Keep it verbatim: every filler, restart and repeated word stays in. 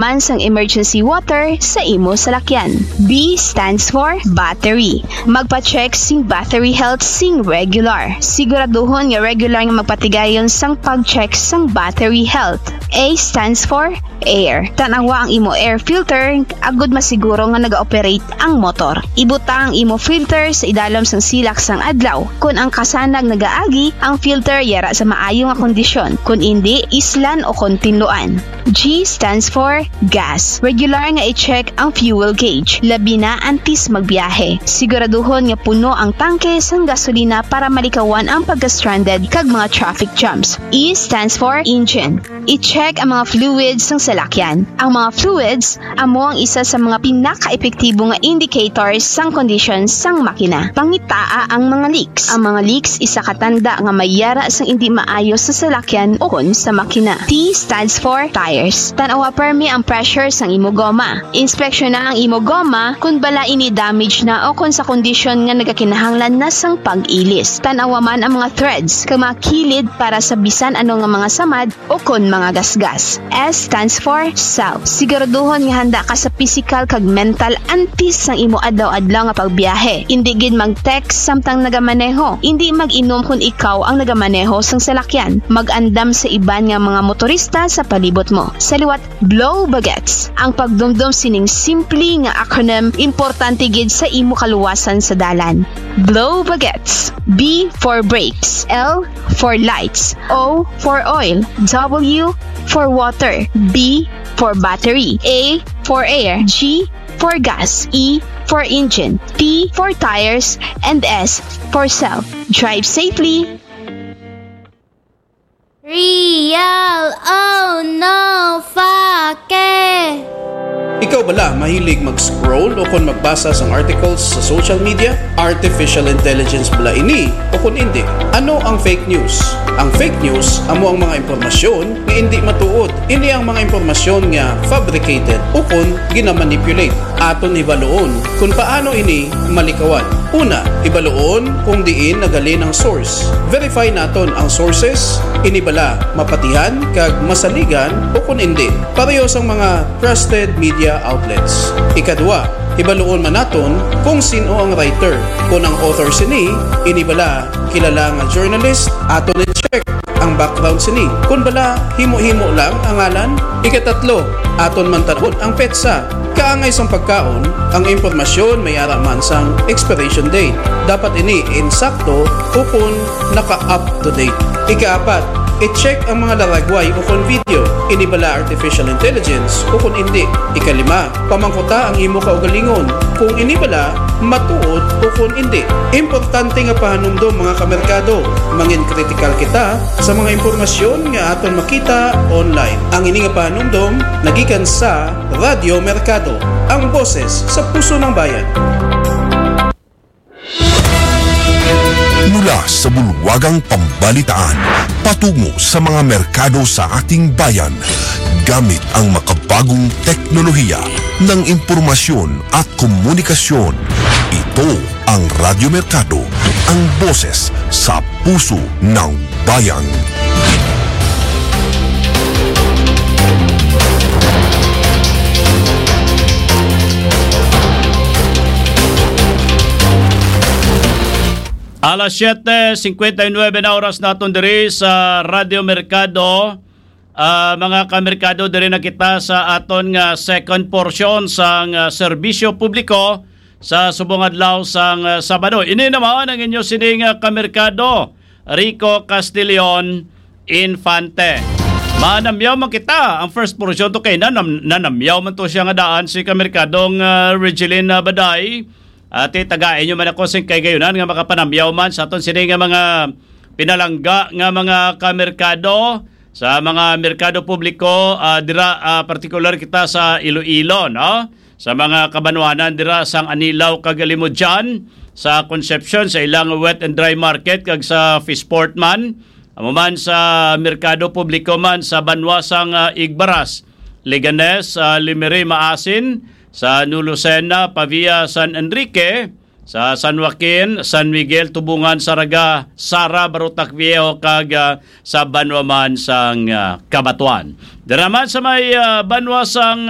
man sang emergency water sa imo salakyan. B stands for battery. Magpa-check sing battery health sing regular. Siguraduhon nga regular nga magpatigayon sang pag-check sang battery health. A stands for air. Tan-awa ang imo air filter agud masiguro nga naga-operate ang motor. Ibutang ang imo filter sa idalom sang silak sang adlaw. Kon ang kasanag nagaagi, ang filter yara sa maayo nga kondisyon. Kon indi, islan o kon tinluan. G stands for gas. Regular nga i-check ang fuel gauge, labi na antes magbiyahe. Siguraduhon nga puno ang tangke sang gasolina para malikawan ang pagka-stranded kag mga traffic jams. E stands for engine. I-check ang mga fluids sang salakyan. Ang mga fluids amo ang isa sa mga pinakaepektibo nga indicators sang kondisyon sang makina. Pangitaa ang mga leaks. Ang mga leaks isa ka tanda nga may yara sang indi maayo sa salakyan ukon sa makina. T stands for tires. Tan-awa permi ang pressure sang imo goma. Inspeksyona ang imo goma kon bala ini damage na o kon sa kondisyon nga nagakinahanglan na sang pag-ilis. Tan-awa man ang mga threads kag mga kilid para sa bisan ano nga mga samad o kon mga gasgas. S stands for self. Siguraduhon nga handa ka sa pisikal kag mental antes sang imo adlaw-adlaw nga pagbiyahe. Indi gid mag-text samtang nagamaneho. Indi mag-inom kon ikaw ang nagamaneho sang salakyan. Mag-andam sa iban nga mga motorista sa palibot mo. Sa liwat, blow bagets. Ang pagdumdom sining simple nga acronym importante gid sa imo kaluwasan sa dalan. Blow bagets. B for brakes. L for lights. O for oil. W for water. B for battery. A for air. G for gas. E for engine. T for tires. And S for self. Drive safely. Real o no fake? Ikaw bala mahilig mag-scroll o kon magbasa sang articles sa social media? Artificial intelligence bala ini o kon indi? Ano ang fake news? Ang fake news amo ang mga impormasyon nga indi matuod. Ini ang mga impormasyon nga fabricated o kon ginamanipulate. Aton hibaluon kon paano ini malikawan. Una, hibaluon kung diin nagalin ang source. Verify naton ang sources, ini bala mapatihan kag masaligan o kon indi. Pareho sang mga trusted media outlets. Ikadua, hibaluon man naton kung sin-o ang writer. Kon ang author sini, ini bala kilala nga journalist, aton i-check ang background sini. Kon bala himo-himo lang ang ngalan. Ikatatlo, aton man tan-awon ang petsa. Kaangay sang pagkaon, ang impormasyon may ara man sang expiration date. Dapat ini insakto ukon naka-up to date. Ikaapat, i-check ang mga laragway ukon video. Ini bala artificial intelligence ukon indi? Ikalima, pamangkuta ang imo kaugalingon kung ini bala matuod ukon indi. Importante nga pahanumdom, mga kamerkado, mangin kritikal kita sa mga impormasyon nga aton makita online. Ang ini nga pahanumdom nagikan sa Radyo Merkado, ang boses sa puso ng bayan. Mula sa bulwagang pambalitaan, patungo sa mga merkado sa ating bayan, gamit ang makabagong teknolohiya ng impormasyon at komunikasyon. Ito ang Radyo Merkado, ang boses sa puso ng bayan. Alas siete cincuenta y nueve na oras naton diri sa Radyo Merkado. Ah, mga kamerkado, diri na kita sa aton nga second portion sang, ah, serbisyo publiko sa subong adlaw sang, ah, Sabado. Ini naman ang inyo sining, ah, kamerkado, Rico Castillon Infante. Manamyaw man kita. Ang first portion to kay nanam-, nanamyaw man to siya nga daan si kamerkadong, ah, Regeline, ah, Baday. Ati, tagai nyo man ako sing kahigayonan nga makapanamyaw man sa aton sini nga mga pinalangga nga mga kamerkado, sa mga merkado publiko, ah, dira, ah, partikular kita sa Iloilo, no? Sa mga kabanwanan dira sang Anilao kag Alimodian, sa Concepcion, sa ilang wet and dry market, kag sa Fishport man. Amo man sa merkado publiko man sa banwa sang, ah, Igbaras, Leganes, ah, Lemery, Maasin, sa New Lucena, Pavia, San Enrique, sa San Joaquin, San Miguel, Tubungan, Saraga, Sara, Barotac Viejo, kag ah, sa banwa man sang ah, Cabatuan. Dira man sa may ah, banwa sang